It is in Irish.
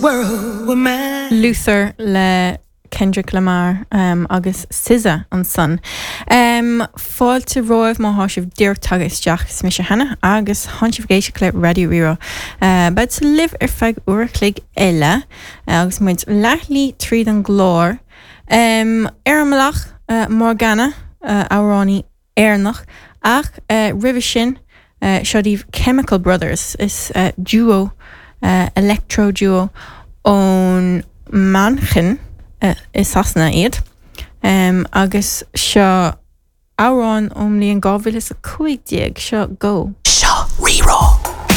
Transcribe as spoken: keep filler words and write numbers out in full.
world were mine. Luther le Kendrick Lamar um, agus SZA ansan. Um, Fáilte romhaibh má thá sibh díreach tagtha isteach is mise Hannah agus thánn sibh ag éisteacht le Raidió Rí-Rá. Uh, Bead libh ar feadh uair a chloig eile uh, agus muid leathshlí tríd an gclár. Um, ar an mbealach uh, Morgana uh, amhránaí Éireannach ach uh, roimhe sin uh, seo daoibh Chemical Brothers is uh, duo uh, electro duo ón Manchain uh, i Sasana iad. Um, agus seo amhrán ón mbliain dhá mhíle is a cúig déag seo go. Seo Rí-Rá.